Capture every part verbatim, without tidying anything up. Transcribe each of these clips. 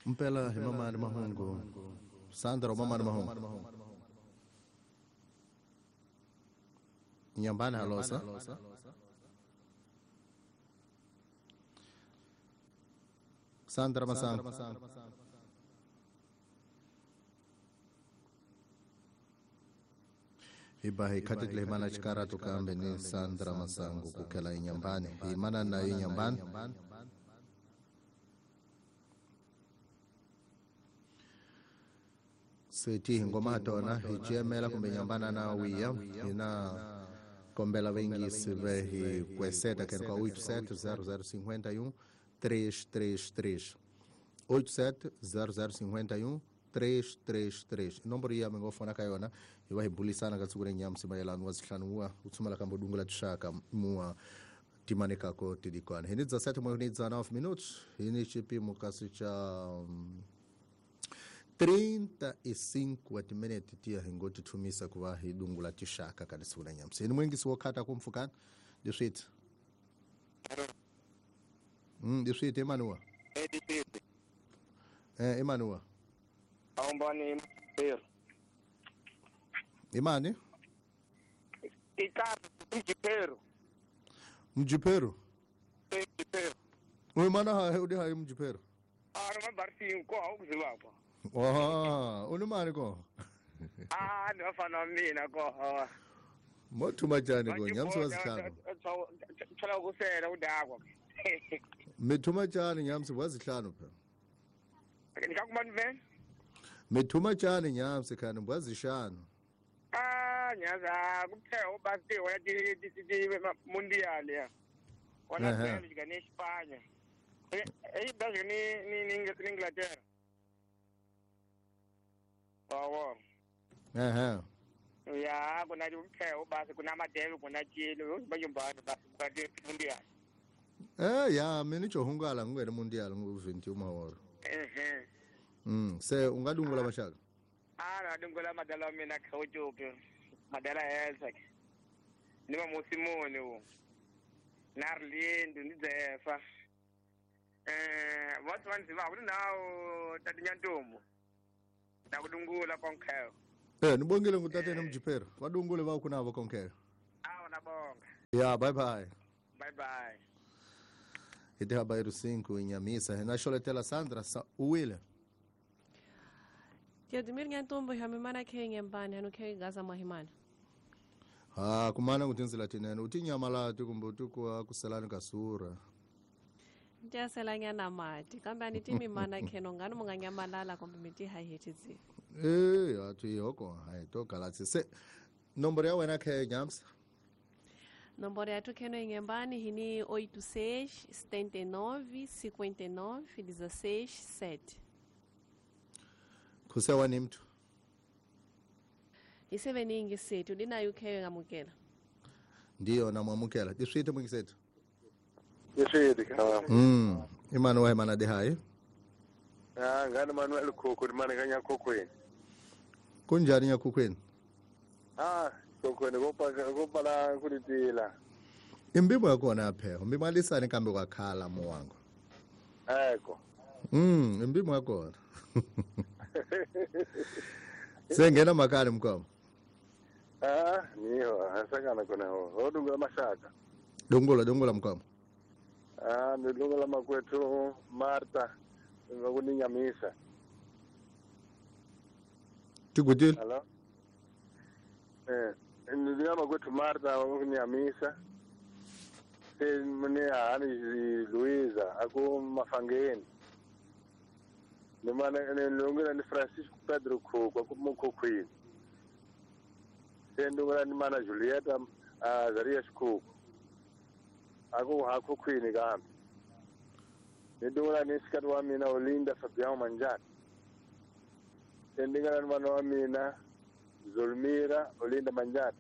Mpela hi mamani mahungu Sandra mamani mahungu Nyambani halosa Sandra Masango Iba hikatile himana chikara tukambe ni Sandra Masango kukela inyambani himana na inyambani Seti ngoma tona hichemela kumbe nyambana na wiya ina kombela wengi sive hi kweseta kwa oito sete zero zero cinquenta e um três três três oito sete zero zero cinquenta e um três três três nomboro ya mingofona kayona iwa hibulisana katsukure nyamsi mayelano wazihlanuwa utsumala kambo dungula tshaka mua timaneka ko tidikwana hini dezessete mwe dezenove minutos hini chipimo kasi cha um, trinta e cinco atiminete tia hingoti tumisa kuva hidungula tishaka kadisula nyamsi hini mwingi siwokata kumfukana diswit mm diswit Emmanuel eh Emmanuel Awumbani Pero Imani Ikazi Mjipero Mjipero Mjipero Uimana ha udi ha Mjipero Ah no barsi ko awuziwapha Ah unumani ko Ah ndifana mina ko Mothuma tjani ko nyamsi wazihlanu Thola ukusela udakwa Mithuma tjani nyamsi wazihlanu phela Ngikakumani vena Mithuma tjani nyamsi khani mbwazishanu Ah nyaza kuphela ubasti wona ti ti mundial ya Wona Bélgica ne Espanha Eh Bélgica ni ni Inglaterra Wawo Ehhe Ya kuna kuphela ubasi kuna madebe kuna Chile bayumbana basi kade mundial Eh ya mina johungala ngwele mundial ngu vinte e uma hora Ehhe Mm se ungadungula bashaka Ah nadungula madala mina khawujupe madala elsa ni mamusimoni wo Narlindu ndidzefa eh what's one ziba kunawo tatinyantombo nakudungula konkheo Eh nibongile ngutatene Mjipero vadungule va kunavo konkheo Awu nabonga Yeah bye bye Bye bye Ite habairo cinco inyamisa hena sholetela Sandra sa uwile Teodimir nyantombo hamimana khe nyambani hanu khe gaza mahimana Ha kumana kutinzila tinene utinyamala tikumbe utikwa kuselani kasura Ntiyaselanyana mati kambe anitimimana kheno ngani munganyamalala kumbe miti haihetizi Eh atu yoko hai to galatsi se nomboro ya wena khe nyamsa Nomboro ya tu kheno inyambani hini oito seis setenta e nove cinquenta e nove dezesseis sete Kusewa ni mtu Iseveningi sethu linayo khe ngamukela Ndiyo namwamukela diswite mwingi sethu Diswite kama Mm Emmanuel mana de hai Ah ngani Manuel Khokho mane kanya Khokhweni Kunjani nyakhukhweni Ah Khokhweni kopa kopa la kulitila Imbimo yakona apha umbimo alisane kambe kwakhala mowango Eko Mm imbimo yakona Sengena makali mkwamo Ah niho asakana kona ho odungula mashaka Dungula dungula mkwamo Ah ndungula makwethu Martha ngakuninyamisa Tikutile Hello Eh ndungula makwethu Martha ngakuninyamisa Mune hani Luiza aku mafangeni Nimana ndungula ni Francisco Pedro Khokho aku mukhokhweni Sendungula ni mana Julieta Azarias Khokho aku hakhokhweni kambe Ndungula ni sikati wa mina Olinda Fabião Manjani Sendungula ni mana wa mina Zulmira Olinda Manjani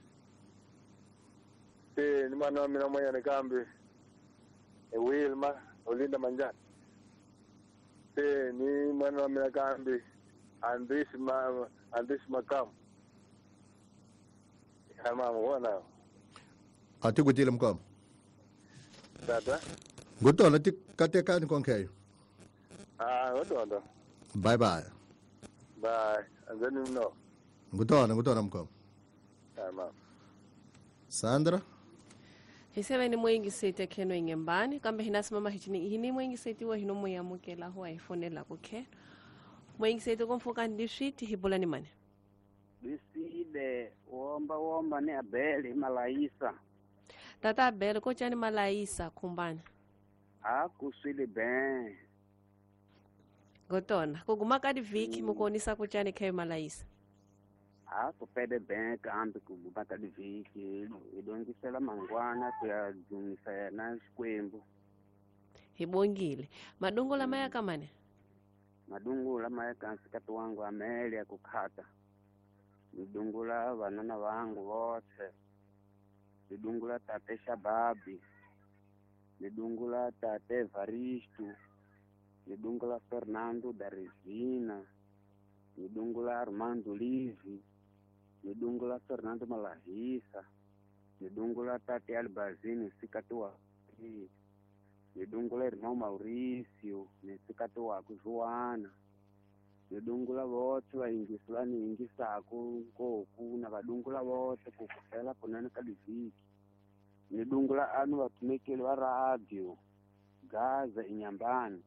Se ni mana wa mina mwanyane kambe Wilma Olinda Manjani Se ni mana wa mina kambe Andres ma Andres Makamu Mama wona Atikutile mkwamo Tata Ngotona tikatekani konkeyo Ah ngotondo Bye bye. Bye. Anzeni mno. Ngutona ngutona mkhoma. Tamam. Sandra Hiseveni mwingisete kheno ingembani kambe hina simama hichini hini mwingiseti wa hino muyamukela ho ayifonela kukhe mwingiseti komfoka ndiswiti hibulani mane Biside womba womba ni Abeli Malaisa Tata Abeli kochani Malaisa kumbana Akuswile ben Gotona kuguma kadi viki mukonisa kuchani khe Malaisa Akupede ben kambe kuguma kadi viki idongisela mangwana kuyadzumisa yena xikwembu Hibongile madungu la maya kamane Madungu la maya kansikati wangu amele ya kukhata Nidungula vanana vangu vothe Nidungula tate Shababi Nidungula tate Evaristo Nidungula Fernando da Resina Nidungula Armando Livi Nidungula Fernando Malahisa Nidungula tate Albazini nsikati wa Nidungula irmão Maurício nsikati wakwe Joana Nidungula vothe vayingisi va ni yingisaku nkoku na vadungula vothe ku kufela kunene ka livhiki Nidungula anu vatumekeli va radio Gaza inyambani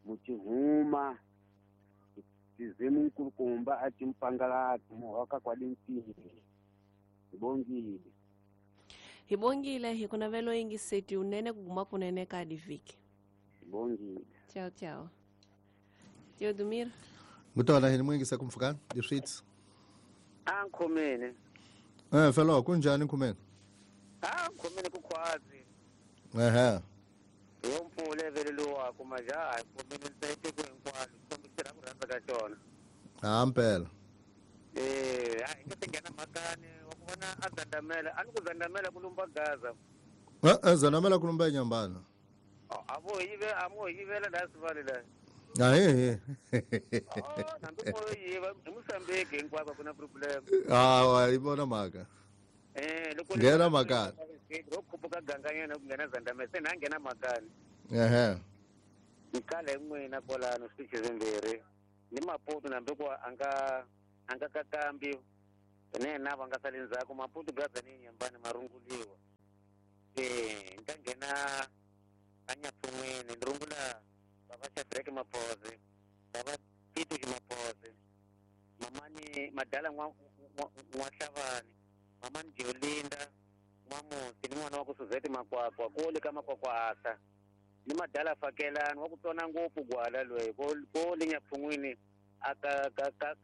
Muchihuma Tizimu nkulukumba a timpangalati muhoka kwa dintini Hibongile Hibongile hikunavelo yingiseti unene kuguma kunene ka livhiki Hibongile Tchau tchau Teodomir Ngutona hini mwingisa kumfukana diswits Ankhomene Eh felo kunjani nkhomene Ah nkhomene kukhwazi Ehe Yompfule vele lowa kumaja nkhomene ntsayite ku hinkwalo kombisira ku rhandza ka xona Ah mpela Eh a inga tingena makani wa ku vona a zandamela a ni ku zandamela ku lumba gaza Eh eh zandamela ku lumba nyambana A vo yive a mo yivela la sivale la Ah eh Oh nambi ko yiva hi Mozambique hinkwako ku na problem Ah wa ibona maka Eh loko Ngena makani ro khuphuka ganganyana ku nghena zandamela se na nghena makani Ehe Nikale n'wina kwalano switichi swimbirhi ni Maputo nambi ku a nga a nga kakambi ne na va nga sali ndzhaku Maputo gaza ni nyambani marunguliwa eh ni ta nghena a Nyapfun'wini ni rungula baba Shadrack Maphoze baba Tito Maphoze mamani Madala n'wa N'wa-Hlavani mamani Jolinda N'wamusi ni n'wana wa ku Suzette Makwakwa kole ka Makwakwa asa ni Madala Fakelani wa ku tsona ngopfu gwala loyi ko ko le Nyapfun'wini a ka ka ka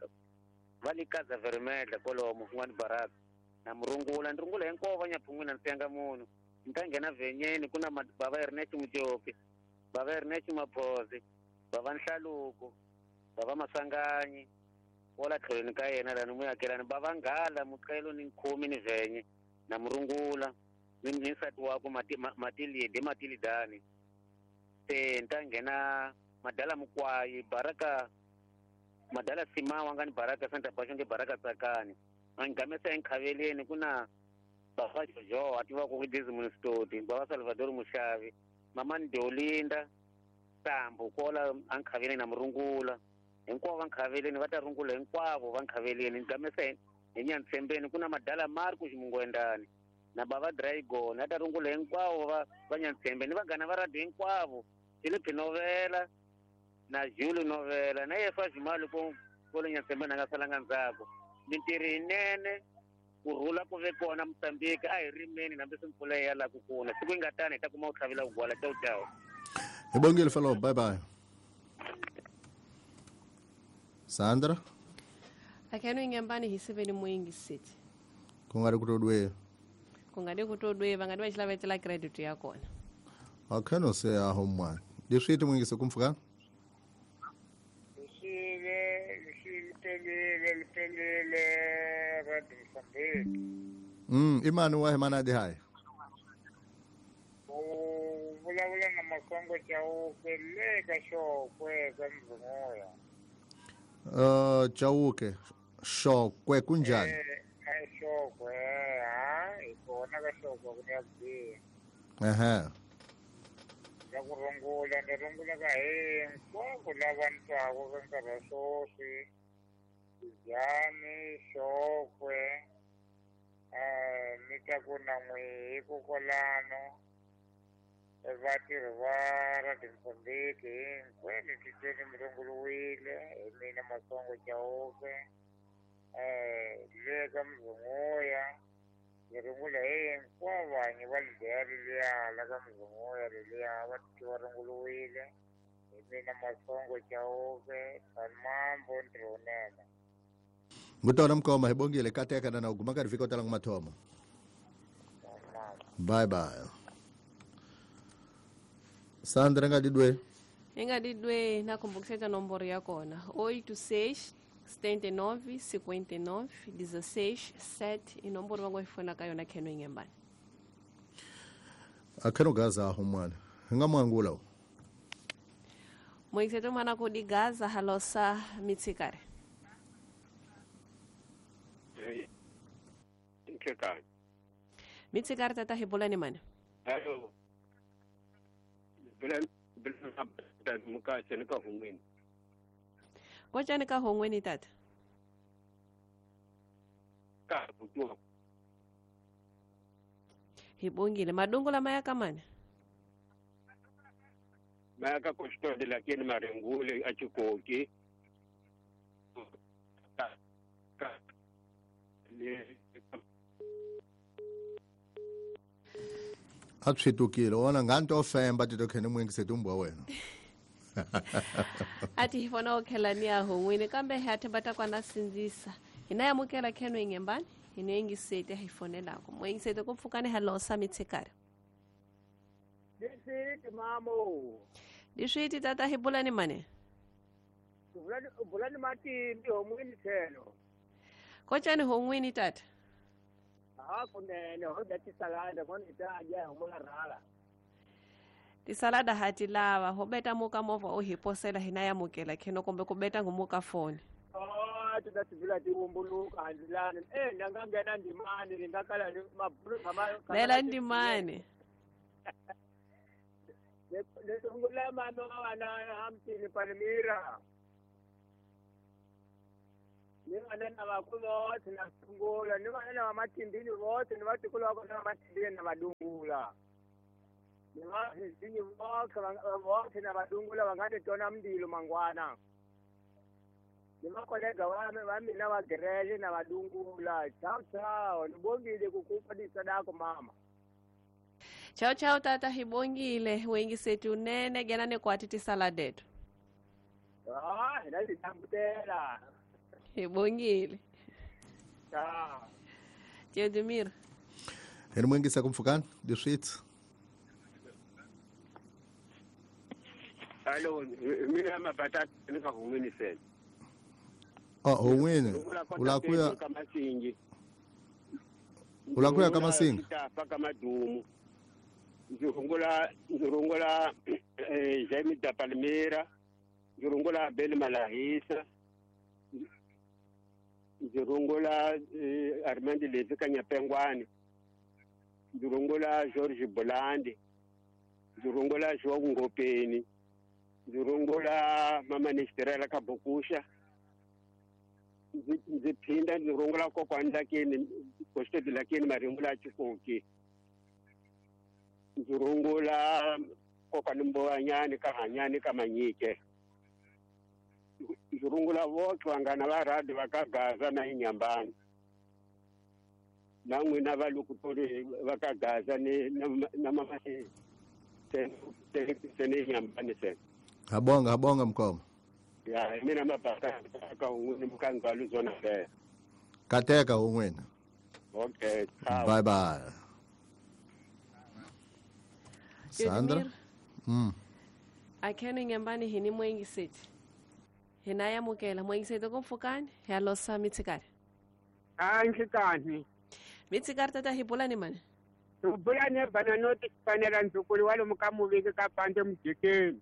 va le Kaza Vermedla kolomo n'wani Baraka na murungula ni rungula hinkwavo va Nyapfun'wini a ni siyanga munhu ni ta nghena vhenyeni ku na baba Ernest Mujopi baba Ernest Maphoze baba Nhlaluko baba Masanganyi wala tlhelweni ka yena lani muyakelani baba Nghala Muqelo ni Nkhomi ni Vhenye na murungula ni ni nsati wakwe Mati Matilide Matilidani se ni ta nghena Madala Mukwayi Baraka Madala Simawa nga ni Baraka Santa Bashonge Baraka Tsakani a ni gamesa enkhaveleni ku na baba Jojo a tiva ku Desmond Stoti baba Salvador Mushavi mamani Deolinda Sambu kola a nkhaveleni na murungula hinkwavo va nkhaveleni va ta rungula hinkwavo va nkhaveleni ni gamesa hi Nyantsembeni ku na Madala Marco Ximungwendani na baba Dragon a ta rungula hinkwavo va va Nyantsembeni vanghana va radio hinkwavo Philip Novela na Jules Novela na Yefa Jimali ko ko le Nyantsembeni a nga salanga ndzhaku mintirho yinene ku rhula ku ve kona Mozambique a hi rimeni hambi swi mpfula ya la ku kuna siku yi nga tani hi ta kuma ku tlhavela ku gwala ciao ciao Hibongile felo bye bye Sandra Akheno ingembani hiseveni mwingiseti Ku nga ri ku todwe Ku nga ri ku todwe va nga di va xilavetela credit ya kona Akheno se a homwana Diswiti mwingise kumfuka Lixile lixile lipelile radio Mozambique Mm imani wa himana di hai U vulavula na Makongo Chauke le ka Xokwe ka Mzunguya Uh Chauke Xokwe kunjani Eh Xokwe ha hi kona ka Xokwe ku ya biha Ehe La ku rungula ni rungula ka hinkwavo lava ni twaka ka nkarhi wa sweswi Tijani Xokwe um ni twa ku na n'wihi kokwalano vatirhi va Radio Mozambique hinkwenu titweni mi runguriwile hi mina Masongo Chauke um le ka Mzunguya ni rungula hinkwavo vanyi va lideya leliya la ka Mzunguya leliya va titwi va runguriwile hi mina Masongo Chauke Mambo ntirho wunene. Ngutona mkoma hi bongile kateka na uguma ka rifika tala mathomo. Bye bye. Sandra nga didwe. Nga didwe na kumbukiseta nomboro ya kona oito seis setenta e nove cinquenta e nove dezesseis sete i nomboro vango ifona ka yona kheno ingembani. Akheno gaza humwana. Nga mwangula. Moiseto mana ko di gaza halosa mitsikare. Mitsikare tata hibolani mane. Hello. Bilan bilan muka chani ka hongweni. Ko chani ka hongweni tata? Ka butuwa. Hibongile madungu la maya kamane. Maya ka kostode lakini marengule achikoki. Ka ka le Atshitukile ona nganto femba tito khene mwengise tumbwa wena. Ati hifona okhelania hongwini kambe hathe batakwana sinzisa. Hinayamukela kheno ingembani hinoyengisete hifonelako. Mwengisete kupfukane halosa mitsikare. Diswiti mamo. Diswiti tata hibulani mane. Bulani bulani matindi hongwini thelo. Kochani hongwini tata? Ah kunene ho da tisalada kona itaja homola rala. Tisalada hati lava ho beta muka mova o hiposela hinayamukela kheno kombe kubeta ngumuka phone. Oh tudatibula tiwumbuluka handilana eh ndangangena ndimani ndingakala mabulu kama Bela ndimani. Lesungula mama wana hamtini Palmira. Ni vana vakulu vothe na sungula ni vana va matimbini vothe ni vatikulu va kona va matimbini na vadungula ni vahizinyi vothe vothe na vadungula va nga ni tona mndilo mangwana ni vakolega va va mina va gerele na vadungula. Chao chao ni bongile ku kupa disadako mama. Chao chao tata hibongile wengisetu nene gena ne kwati tisaladetu. Ah ina ditambutela. Hibongile. Chao. Teodemir. Heri mwengisa kumfukani diswit. Hello, mina mabata nika hongweni sel. Oh, hongweni. Ulakuya kamasingi. Ulakuya kamasingi. Paka madumu. Nzurungula nzurungula eh Jaime da Palmira. Nzurungula Bel Malahisa. Nzurungula eh, Armand Levi Kanyapengwane. Nzurungula George Bolandi. Nzurungula João Ngopeni. Nzurungula Mama Nesterela Kabokusha. Ndzi phinda nzurungula kokwani lakini kostedi lakini marungula chikoki. Nzurungula kokwani Mbowanyani kahanyani kamanyike. Nzurungula vothe vangana va radi va ka Gaza na Inyambani. Na n'wina va lokutori va ka Gaza ni na mama se se ni Inyambani se. Habonga habonga mkoma. Ya mina mabaka ka un'wini mukangalo zona le. Kateka un'wini. Okay, ciao. Bye bye. Sandra. Mm. Akheno Inyambani hini mwengiseti. Hinayamukela mwengisete kumfukani halosa mitsikare. Ah nhlekani. Mitsikare tata hibulani mane. Ubulane bana noti fanela nzukulu walo mukamuviki kapande mujikeni.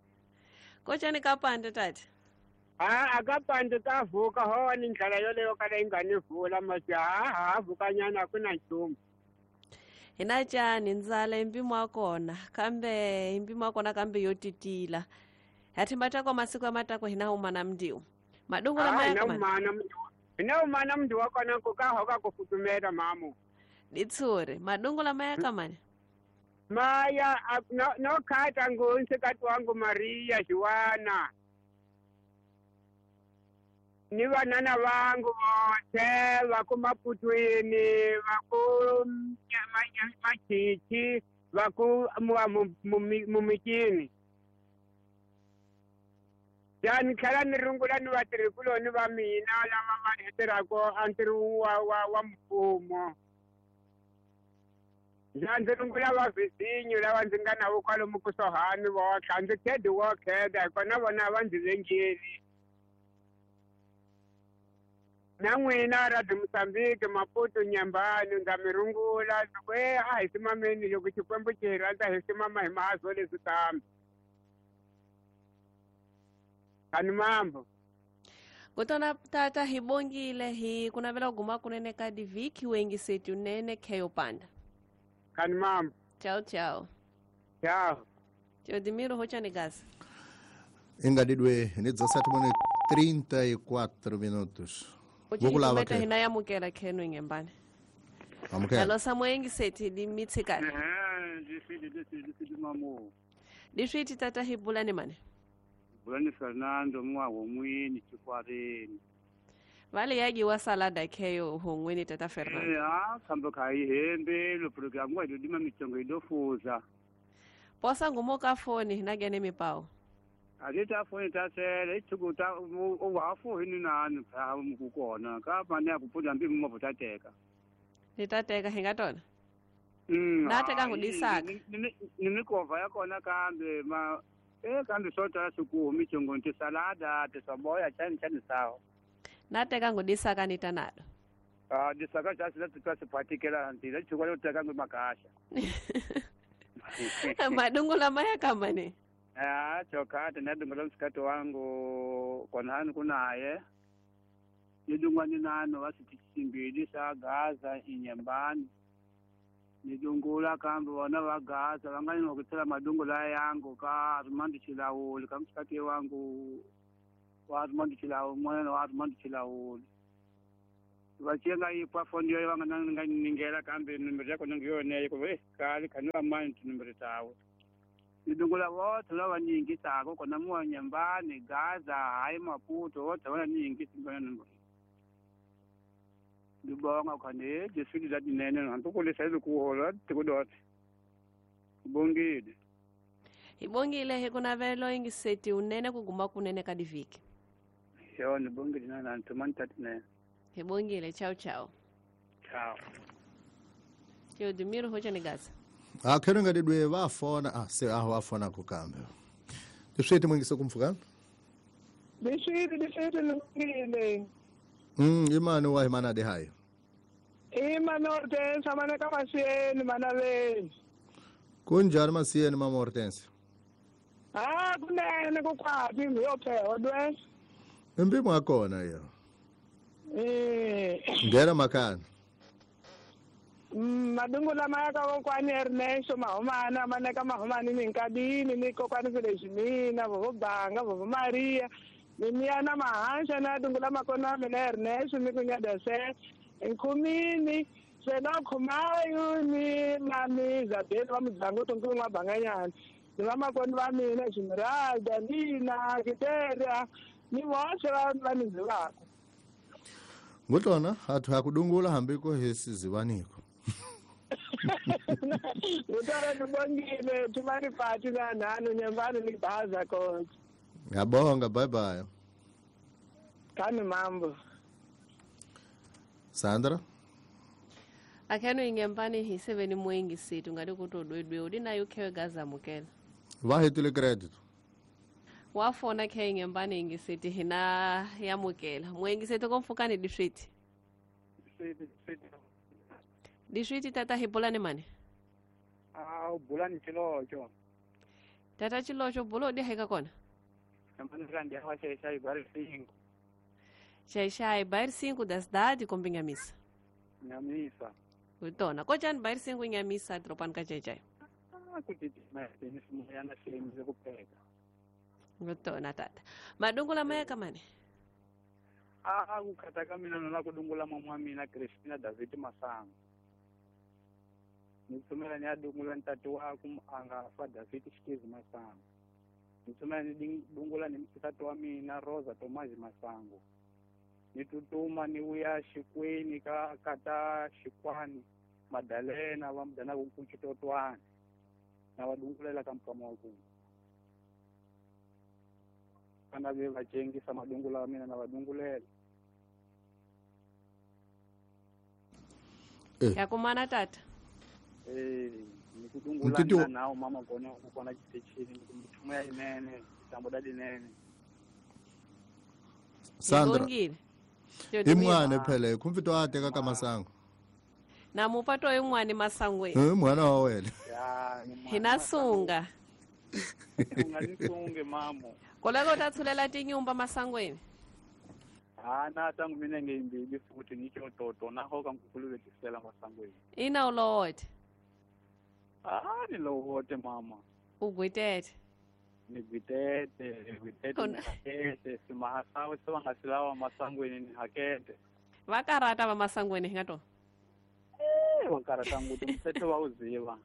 Kochani kapande tata? Ah akapande kavuka ho ni ndlela yoleyo kala ingani vula masi ha ha vukanyana kuna nchumu. Hina cani ndzala impimo wa kona kambe impimo wa kona kambe yo titila. Hathimba tako masiku ya matako hina huma na mndiu. Madungu la maya kama. Hina huma na mndiu wako na kuka hoka kufutumera mamu. Ditsure, madungu la maya kama ni? Maya, no, no kata ngunse katu wangu Maria Juana. Ni wanana wangu wote wako Maputwini, wako Machichi, wako Mumikini. Yani khala nirungula ni vatirhikulo ni va mina lava va tirhaka antirho wa wa wa mfumo. Ya ndzi rungula va vhizinyo lava ndzi nga na vo kwalomu kusuhani votlha a ndzi khedi wo kheda hikona vona va ndzi vengeli. Na n'wina Radio Mozambique Maputo Nyambani ndza mi rungula ndzi ku e a hi simameni loko Xikwembu xi hi rhandza hi simama hi mahazo leswi kambe. Ani mambo. Kutona tata hi bongile hi kunavela guma kunene ka diviki wengi setu nene keyo panda. Kani mambo. Ciao ciao. Ciao. Teodimiro hocha ni gasa. Ingadidwe ni dezessete mone trinta e quatro minutos. Vokulava ke. Hina yamukela kheno ingembane. Amukela. Alo samwengi sethi dimitsikana. Eh, difidi difidi difidi mamu. Difidi tata hibulani mane. Bulani Fernando mwa womwini chikwareni. Vale yaji wa salada keyo hongweni tata Fernando. Eh, ah, kambo kai hembe lo programu wa dima michongo idofuza. Posa ngumoka foni nagene mipao. Alita foni tasele ichukuta uwafu hini nani pa mkukona ka mane akupuda mbi mmopotateka. Nitateka hingatona. Mm. Nateka ngudisaka. Nimikova yakona kambe ma eh kambe sota suku michongo nti salada tisaboya chani chani sawa. Nateka ngudisaka nitanado. Ah disaka chasi la tusipatikela nti la chukwa loteka ngimakasha. Madungu la maya kama ni. Ah chokate nadungu la msikato wangu konhani kunaye. Nidungwa ninano wasitisimbili sa Gaza inyembani. Nidungula kambe wana wa Gaza vangani nokutsela madungu la yangu ka Armando Chilauli ka msikati wangu wa Armando Chilauli mwana wa Armando Chilauli. Vachenga ipa fondi yo vanga ningela kambe numero yako nangiyone ko eh kali kanwa mani numero tawe. Nidungula wote lava nyingi sako kona mwa nyambani Gaza hayi Maputo wote wana nyingi singona numero. Ndibonga khane jeswili za dinene hantukulisa izikuhola tikudot. Bongile. Ibongile hekunavelo ingiseti unene kuguma kunene kadiviki. Yo nibongile nana ntumani tatine. Ibongile ciao ciao. Ciao. Teodimiro hocha negaza. Ah khero ngadidwe vafona ah se ah wafona kukambe. Tisweti mwingi sokumfukana? Diswiti diswiti lungile. Mm imani wa imana de hayo. Imani Hortense mana kama sieni mana veni. Kunjani masiyeni mama Hortense? Ah kunene kukwaphi ngiyophewa dwe. Impimo yakona yo. Eh. Ngena makana. Mm madungu lama ya ka kokwani Ernesto Mahomana mana ka Mahomani minkadini ni kokwani Felizmina vovo Banga vovo Maria. Mimiana mahansha na dungula makona mina Ernesto mikunya se nkumini sena khumayo ni mami Isabel wa mudzango tonkunwa banganyana ni vamakoni va mina Esmeralda Nina Kiteria ni voxe va va nizivako. Ngutona hathu hakudungula hambiko hesizivaniko. Ngutona nibongile tumani pati na nanu nyambani ni baza coach. Ngiyabonga bye bye. Kani mambo. Sandra? Akheno ingembani hiseveni mwengi situ ngati kutodwedwe udinayo khewe gaza mukela. Vahetile credit. Wafona khe ingembani ingisithi hina yamukela. Mwengi situ komfukani diswiti. Diswiti tata hibulani mane? Ah bulani chilocho. Tata chilocho bulo di heka kona. Xaixai, bairro cinco da cidade, com Binhamissa. Minhamissa. Utona kojani bayirisengu nyamisa dropani ka jejai. Ah kutitimela ni simoyana xilemize ku pheka. Utona tata. Madungula maya kamane. Ah ku khata ka mina na ku dungula mama wa mina Christina David Masango. Ni tsumela ni ya dungula ntati wa ku anga fa David Xitizi Masango. Ni tsumela ni dungula ni msati wa mina Rosa Tomazi Masango. Ni tutuma ni wuya xikweni ka kata xikwani Madalena va mudana ku kuchitotwana na va dungulela ka mukama wa ku kana ve va cengisa madungula wa mina na va dungulela. Ya kumana tata. Eh ni ku dungula na mama kona ku kona xitichini ni mithumo ya inene tambo da dinene. Sandra. Imwana phela kumfito a teka ka masango. Na mupato imwana masangwe. Eh mwana wa wena. Ya hina sunga. Unga nisunge mamo. Koleko tathulela tinyumba masangweni. Ah na tangu mina ngeyimbili futhi ngitsho toto naho ka ngikulubetisela masangweni. Ina ulowote. Ah ni lowote mama. Ugwitete. Nigwitete, nigwitete, nihakete, simahasawe sewangasilawa masangweni nihakete. Vakarata va masangweni hingato? Eh, vakarata nguti mthetho wawuziva.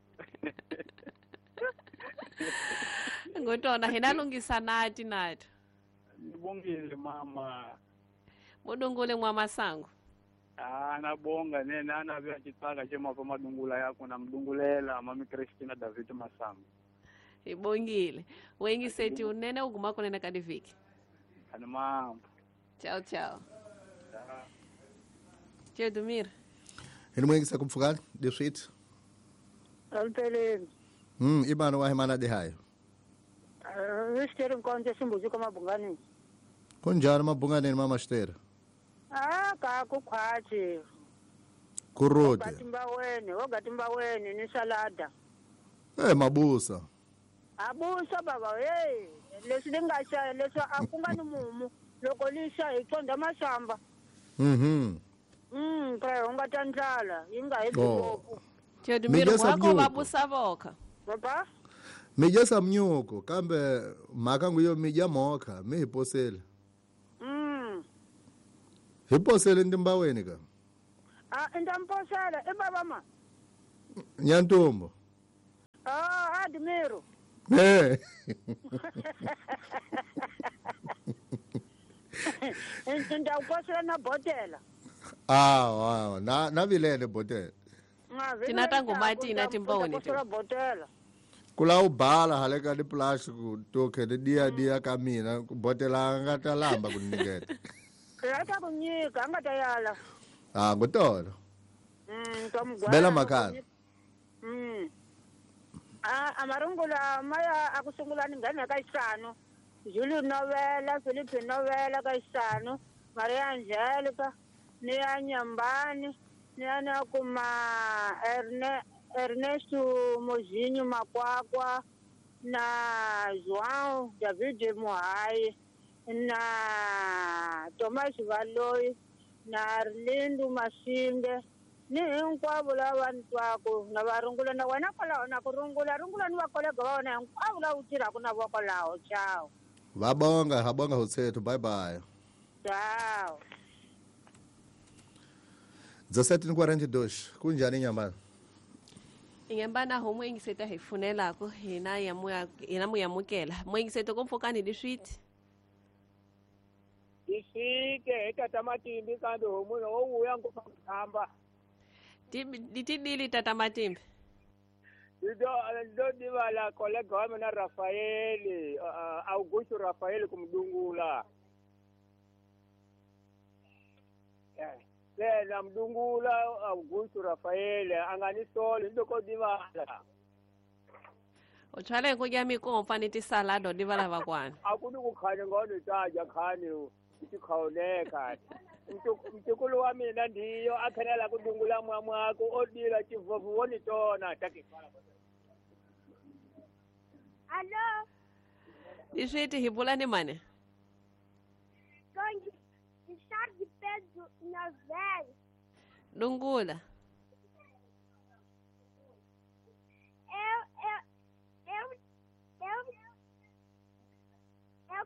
Ngotona hina lungisa nati nati. Nibongile mama. Mudungule mwa masango. Ah, nabonga nene ana vya chitsaka chema pa madungula yako na mdungulela mami Christina David Masango. Ibongile. Wengi seti unene uguma kunena kadiviki. Ani mambo. Ciao ciao. Ciao Dumir. Hini mwengi sa kumfukani diswit. Alpeleni. Mm, ibano wa himana dehayo. Nistere mkonje simbuzi kama bungani. Kunjani mabungani mama Shtera? Ah, ka kukhwathi. Kurode. Gatimba wene, ogatimba wene ni salada. Eh mabusa. Abusa baba hey, leswi linga xa leswi a ku nga ni mumu loko lixa hi tsonda masamba. Mhm. Mm, pra unga ta ndlala yi nga hi ngopfu. Tedumiro wako mabusa voka. Baba? Mijasa mnyuko kambe mhaka nguyo mija moka mi hi posele. Mm. Hi posele ndimbaweni ka. Ah, ndamposela e baba ma. Nyantombo. Ah, Admiro. Eh. Ndawuposela na botela. Ah, wow. Na na vilele botela. Tina tangu mati na timboni. Posela botela. Kula ubhala hale ka di plastic to ke dia dia ka mina botela nga ta lamba kuniketa. Ya ta kunyika nga ta yala. Ah, ngotolo. Mm, tomgwa. Bela makana. Mm. Ah, amarungula maya akusungula ngane ka isano. Julio Novela, Felipe Novela ka isano, Maria Angelica, ni ya Nyambani, ni ya kuma Erne Ernesto Mozinho Makwakwa na João David Muhai na Thomas Valoy na Arlindo Masinge ni hinkwavo lava ni twaku na va rungula na wena kwalaho na ku rungula rungula ni va kolega va wena hinkwavo lava u tirhaka na vo kwalaho. Ciao. Va bonga ha bonga hotsethu. Bye bye. Ciao. dezessete e quarenta e dois. Kunjani Nyambana? Nyambana ho moengiseta hi funelako hina ya moya hina moyamukela. Moengiseta komfokani diswiti. Diswite etata matimbi kambe ho munhu wo vuya ngopfu ku Ditidili tata matimbi. Ndo ndo divala kolega wa mina Rafael, Augusto Rafael kumdungula. Eh, na mdungula Augusto Rafael anganisoli ndo ko divala. O tshwale go ya mikomfa ni tisalado divala vakwana. Akuni ku khanye ngone taja khanye tikhaoneka. Mtukulu wa mina ndiyo akhanela kudungula mwamwako odila chivovu woni tona taki. Allo. Diswiti hibula ni mane. Kongi Richard Pedro Novel. Dungula.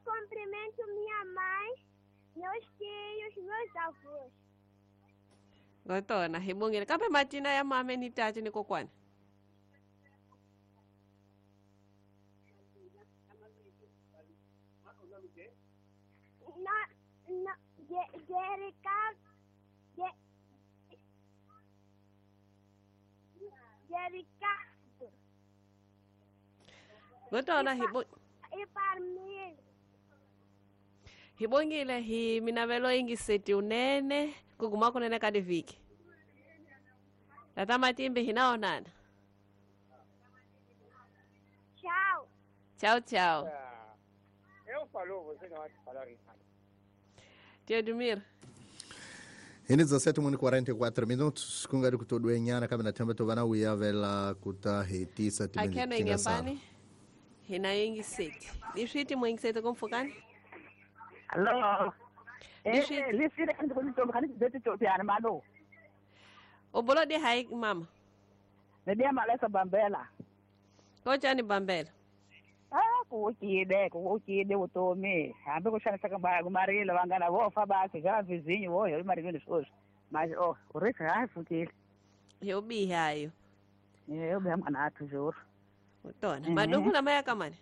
cumprimento minha mãe, meus tios, meus avós. Gotona, hi bongile. Kambe matina ya mame ni tati ni kokwana. Na, na, Jerica, Jerica. Gotona, hi bo E Parmil. Hi bongile hi minavelo ingiseti unene kuguma kunene ka diviki. Tata Matimbe hinaonana. Tchau. Tchau, tchau. Eu falou, você não vai falar isso. Tio Edmir. Ini dezessete e quarenta e quatro minutos kungari kutodwenyana kambe na themba tovana uyavela kuta hetisa Akheno ingembani hina ingiseti. Liswiti mwingiseti kumfukani? Allo. Eh, liswiti kandi kunitomba kandi zeti topiana malo. Obolo de hai mama. Nedia malesa bambela. Kochani bambela? Ah, kuukide, kuukide utomi. Hambe kuxanisa ka kumarilo vangana vo fa basi já vizinho vo yo marilweni sweswi. Mas oh, o rei ha fukile. Yo bihayo. Yo biha mwana athu juro. Utona. Madungu la maya kamani.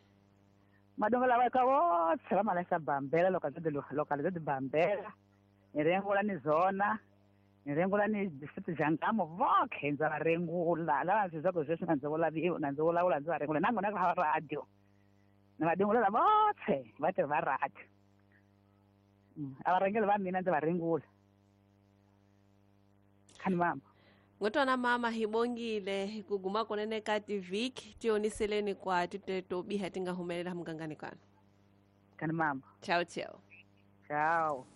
Madungu la ka vo tsela malesa bambela localidade localidade bambela. Ni rengula ni zona. Ni rengula ni distrito jangamo vokhe ndza va rengula. Lava ndzi zako sweswi na ndzi vula na ndzi vulavula ndzi va rengula nangona ku hava radio. Na vadungula vothe va tirhi va radio. A va rhangeli va mina ndzi va rengula. Khani mama. Ngotwana mama hi bongile kuguma kunene ka tiviki tioniseleni kwa titeto biha tinga humelela mugangani kana. Khani mama. Tchau, tchau. Tchau.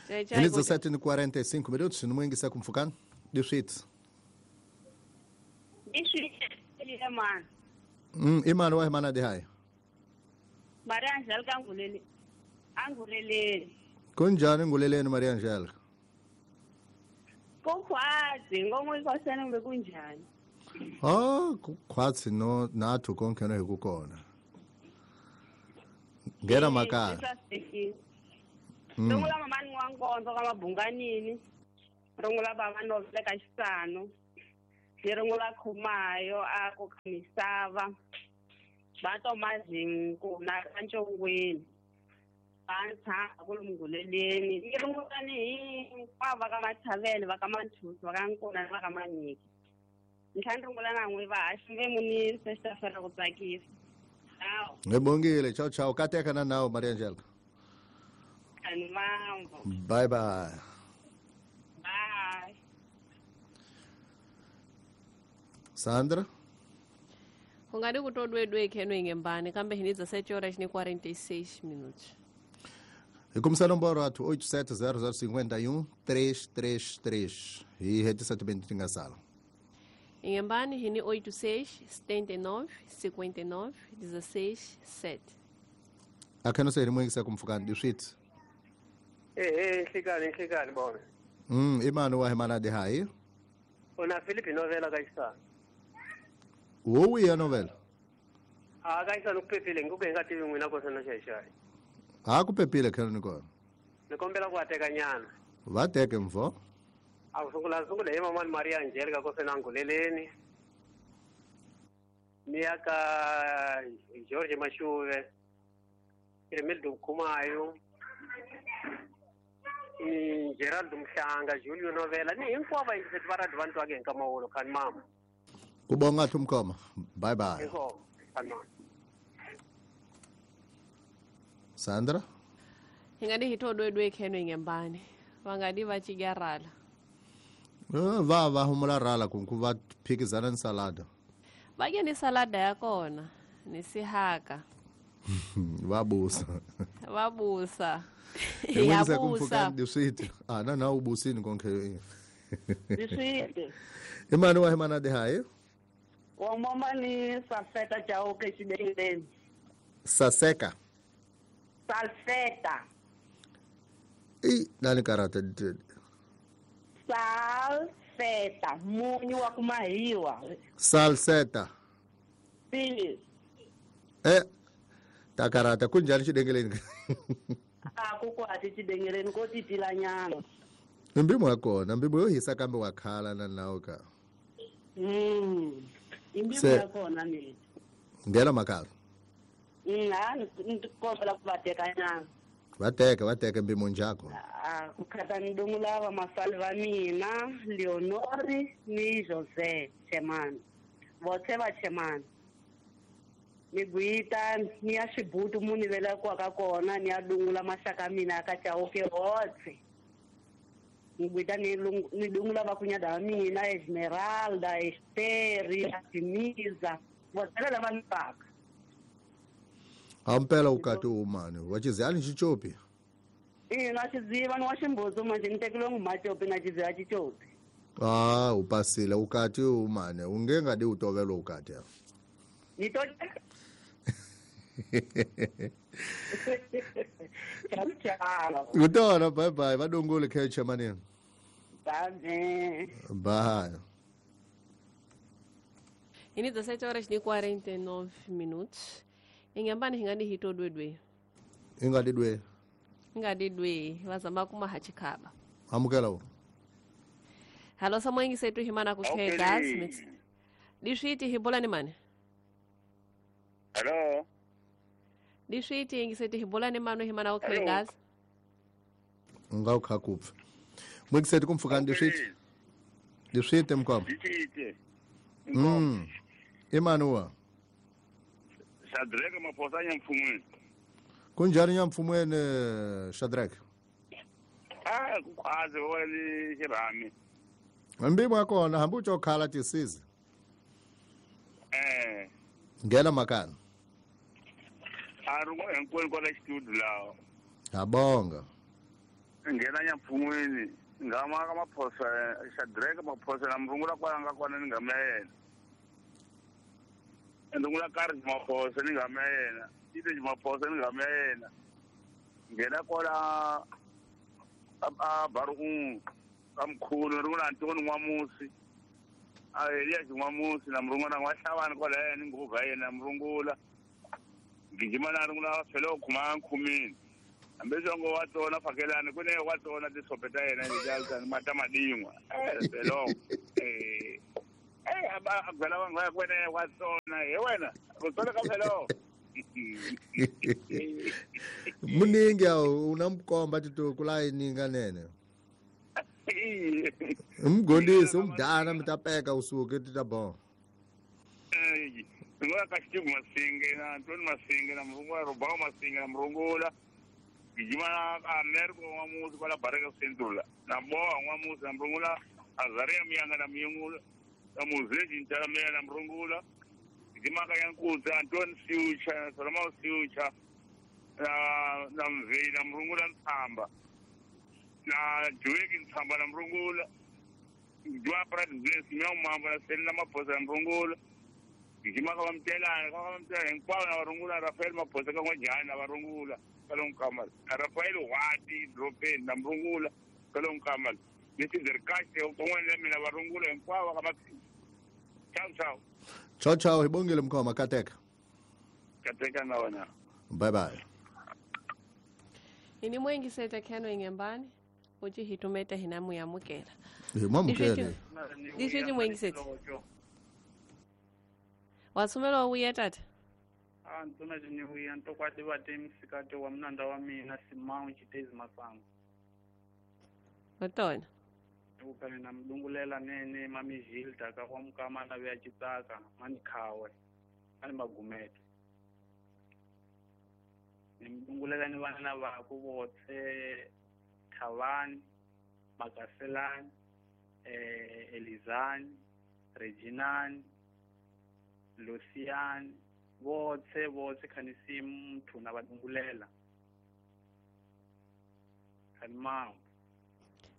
Ini dezessete e quarenta e cinco minutos, no mwingi kumfukani. Dixit. Dixit, mano. Mm, imani wa mana de hai. Maria Angélica angulele. Angulele. Kunjani nguleleni Maria Angélica? Kukhwazi, ngomwe kwasana ngbe kunjani? Ah, kukhwazi no nathu konke no hikukona. Ngera makaya. Rungula mama ni wankonzo ka mabunganini. Rungula baba no veka xisano. Ni rungula khumayo a ku misava. Va Tomazinku na Ntshongweni. Va ntshava ku lunguleleni. Ni rungula ni hinkwavo va ka Mathavele, va ka Manthusi, va ka Nkuna na va ka Manyiki. Ni tlhela ni rungula na n'wi va haxi munisi xi ta fela ku tsakisa. Ciao. Ngibongile, ciao ciao. Kateka na nawo Maria Angélica. Bye bye. Bye. Sandra? Kungadi kutodwedwe kheno ingembani kambe hini dezessete horas e quarenta e seis minutos. E começar nomboro atu oito sete zero zero cinco um três três três. E rede sete bem tinga sala. Ingembani hini oito seis setenta e nove cinquenta e nove dezesseis sete. Akheno se rimwe ngisa kumfukani dixit. Eh eh hlikani hlikani bona. Mm imani wa hemana de hai. Ona Filipe novela kaisa. Wowi ya novela. Ah kaisa nokuphephile ngikuke ngathi ngwina kosana shayishaya. Ha kuphephile khona nikona. Nikombela kuateka nyana. Vateke mfo. Akusungula sungula hi mama Maria Angelica kosana nguleleni. Miyaka George Mashuve. Irmildo Kumayo. Ni Geraldo Mhlanga, Julio Novela, ni hinkwavo va va ra vantu ake nkamawolo khani mama. Kubonga thumkoma. Bye bye. Sandra? Hingadi hitodwedwe kheno ingembani. Vangadi va chigarala. Eh va va humula rala kunku va phikizana ni salada. Va ke ni salada ya kona, ni sihaka. Va busa. Va busa. Ya busa. Dixit. Ah na na ubusini konke. Dixit. Imani wa hemana de hai? Wa mama ni safeta chauke xibeleni. Saseka. Salseta. I nani karata. Salseta, munyu wa kumahiwa. Salseta. Si. Eh Takarata kunjani xidengeleni? A ku kwati xidengeleni ko titilanyana. Mbimo ya kona, mbimo yo hisa kambe wa khala na nawo ka. Mm. Imbimo ya kona ni. Ngela makala. Mm, ha ni kombela ku va teka nyana. Va teka, va teka mbimo njako. Ah, ku khata ni dungula va masali va mina, Leonori ni Jose Chemani. Votse va Chemani. Ni guita ni ya xibutu muni vela kwa ka kona ni ya dungula maxaka mina ka Chauke hotse. Ni guita ni ni dungula va kunyada wa mina Esmeralda, Esteri, Artemisa, votse lava ni paka. Ampela ukati umane, wachizali xichopi. Ina xiziva ni wa ximbuzu manje ni tekile ngumachopi na xiziva xichopi. Ah, upasile ukati umane, unge ngadi utovelo ukati. Ni to Ciao ciao. Kutona bye bye, vadungule kheche manini. Bye. Bye. Ini dezessete horas e quarenta e nove minutos. Ingambani hingani hito dwedwe. Ingadi dwe. Ingadi dwe, vazamba kuma hachikhaba. Amukela wo. Halo samwengi setu himana kukhe gas mix. Dishiti hibola ni mane. Hello. Dishiti ingiseti hibola ni mano himana kukhe gas. Ngau khakupfa. Mwigiseti kumfukani dishiti. Dishiti mkwamba. Dishiti. Mm. Imanuwa. Shadrack maphosa nyamfumweni. Kunjani nyamfumweni Shadrack? Ah, kukwazi wena xirhami. Mbimo yakona hambi utsho khala tisizi. Eh. Ngena makana. Arungo hinkwenu kwala studio lawo. Ngabonga. Ngena nyamfumweni ngama ka maphosa Shadrack maphosa na mrungula kwala nga kona ni ngama yena. Ndungula karhi maphosa ni ngama yena. Ite maphosa ni ngama yena. Ngena kwala a baru kamkhulu rungula Antoni N'wamusi. A Elias N'wamusi na mrungula n'wahlawani kwala yena nguva yena mrungula. Gijima na rungula felo khuma nkhumini. Hambi songo wa tona fakelani ku ne wa tona tisope ta yena leti mata madingwa. Eh felo. Eh eh aba agwela vanhu va kwene wa tona he wena u tona ka felo. Muningi awu unamkomba tito kulayininga nene. Umgondisi umdana mtapeka usuke titabon. Eh ngoba ka Steve Masinge na Antoni Masinge na mrungula Robao Masinge na mrungula gijima Americo N'wamusi kwala Baraka Central na Boa N'wamusi na mrungula Azaria Miyanga na miyungula na Muzezi Ntalamela na mrungula gijima ka Yankutsa Antoni Siucha Solomon Siucha na na Mveyi na mrungula Ntsamba na Joeki Ntsamba na mrungula Jwa Prat Bless Miao Mambo na Selina Maphosa na mrungula gijima ka vamtelana ka vamtelana hinkwavo na varungula Rafael Maphosa ka n'wajani na varungula ka lonkamala Rafael Wati Dropeni na mrungula ka lonkamala ni Sizerikahle kun'wana la mina varungula hinkwavo ka maphini. Ciao ciao. Ciao ciao, hi bongile mkhoma kateka. Kateka na wena. Bye bye. Ini mwengi seta kheno ingembani uthi hitumeta hinamu yamukela. Hi mwamukele. Dishiti mwengi seta. Wasumela uya tata. Ah ntona jini nto kwati vate msikati wa mnanda wa mina Simão Chitezi Masango. Otona. Ukale na mdungulela nene mami Gilda ka kwa mkama na vya chitsaka mani khawe mani magumete. Ni mdungulela ni vana va ku votse Thavani, Makaselani, eh Elizani, Reginani, Lucian, votse votse khanisi muthu na vadungulela. Khanimao.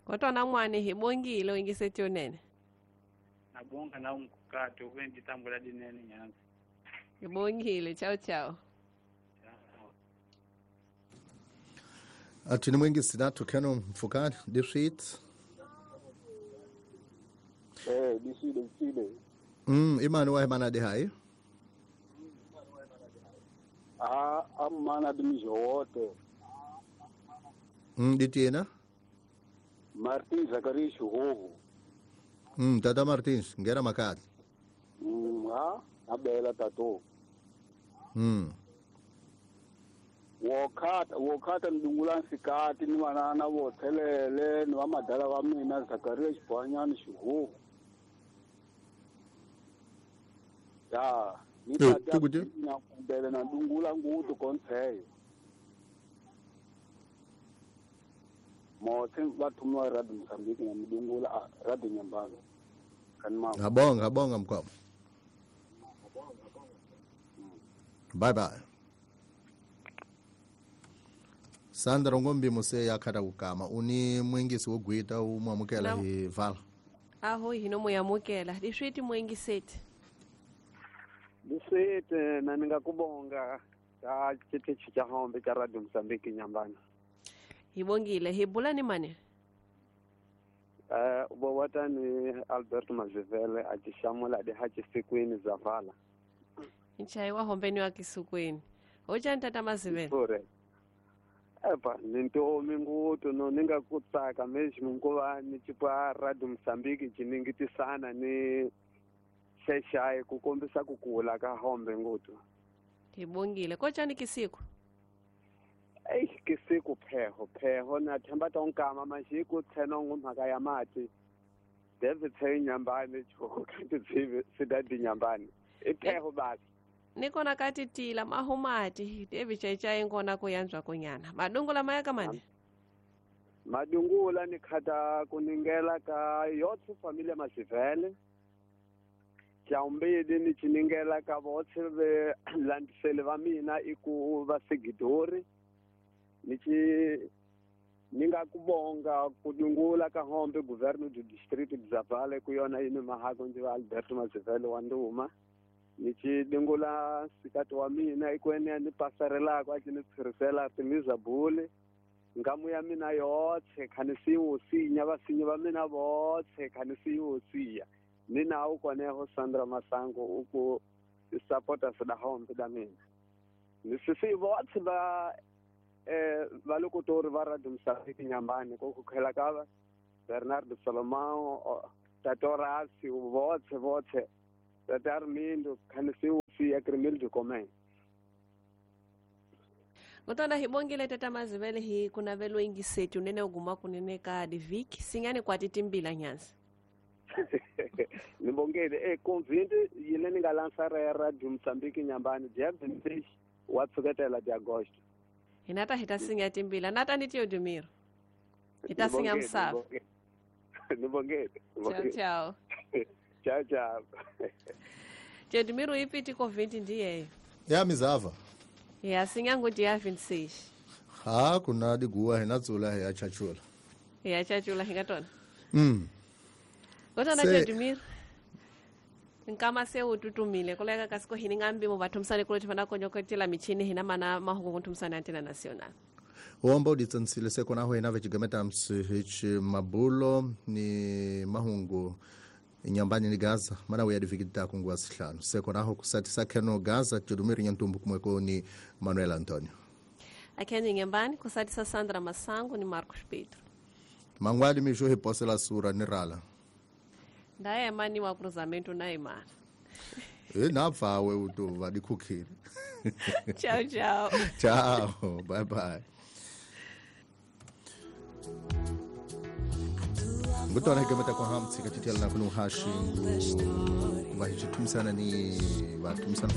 Kodwa namwane hi bongile wingisetyonene. Nabonga na umkukati ukenditambula dinene nyanza. Ngibongile, ciao ciao. Athini mwingi sinathu kheno mfukani dishit. Eh dishile dishile. Mm imani wa imana de hai. Ah Amana dimijote. Mm ditina? Martins Zacarias Xihuhu. Mm tata Martins, ngera makati. Mm ha, abela tato. Mm. Wokata wokata ndungula nsikati ni manana vothelele ni va madala va mina Zacarias Xibanyana Xihuhu. Ya, ni tata na kumbele na ndungula ngutu kontsheyo. Motse bathumiwa Radio Mozambique na mdungula Radio Nyambalo. Kanma. Ngabonga, ngabonga mkwamo. Bye bye. Sandra Ngombi muse yakhata kukama uni mwingisi wogwita umwamukela hi vala. Aho hino muyamukela diswiti mwingiseti. Diswiti na ningakubonga ka chitichi cha hombe cha Radio Mozambique Nyambani. Hibongile hibula ni mane? Eh ubowata ni Alberto Mazivele achishamula de hachisikwini zavala. Nchai wa hombeni wa kisukweni. Hoja ntata Mazivele. Sure. Epa ninto minguto no ninga kutsaka mesmo ngoba ni chipa Radio Mozambique chiningitisana ni sheshaye kukombisa kukula ka hombe nguto. Hibongile kocha ni kisiku. Ei kisiku pheho pheho na themba tonkama mashiku tseno ngumhaka ya mati. David tshe Nyambani choko kanti tsive sidadi Nyambani. Ipheho basi. Nikona kati tila mahumati David chaichai ngona kuyanzwa kunyana. Madungula mayaka mane? Madungula nikhata kuningela ka yotse familia Masivele. Chaumbidi ni chiningela ka votse ve landisele va mina iku va Sigidori. Nichi ninga kubonga kudungula ka hombe governo do distrito de Zavala kuyona ine mahako nje Alberto Mazivele wa Nduma. Nichi dungula sikati wa mina ikwene ni pasarela kwa chini tsirisela timiza bule. Ngamu ya mina yotse khanisi usinya basinya ba mina botse khanisi usiya. Nina ukoneho Sandra Masango uku supporters da hombe da mina. Nisisi botse ba eh valokutori va Radio Mozambique Nyambani ko kukhela ka Bernardo Salomão Tatorasi votse votse Tata Armindo khanisi usiya Crimil de Comem. Ngotona hibongile tata Mazivele hi kunavelo ingisetu nene uguma kunene ka diviki singane kwati timbila nyanza. Nibongele eh convinte yile ninga lançar ya Radio Mozambique Nyambani dia vinte e três wa tsuketela de agosto. Hinata hitasinga timbila nata nitiyo dumiro. Hitasinga msafu. Nibongele. Ciao ciao. Ciao ciao. Jedumiro ipiti ko vinte ndiye. Ya mizava. Ya singa ngo dia vinte e seis. Ha kuna diguwa hinatsula ya chachula. Ya chachula hingatona. Mm. Kotona Jedumiro. Nkama se ututumile koleka kasiko hiningambi mo bathumsane kulothi bana konyokotela michini hina mana mahungu kunthumsane antena national. Womba uditsansile sekona ho ina vechigameta msihichi mabulo ni mahungu Nyambani ni Gaza mana uyadifikita kungwa sihlanu sekona ho kusati sakheno Gaza Jedumiro Nyantumbu kumweko ni Manuel Antonio. Akeni Nyambani kusati sa Sandra Masango ni Marcos Pedro. Mangwali misho hiposela sura ni rala. Ndaye mani wa cruzamento na imana. Eh napfawe utuva dikhukhile. Ciao ciao. Ciao, bye bye. Ngutona hikamata kwa hamtsi katitela na kunuhashi ngu kuva hichitumisana ni vatumsana.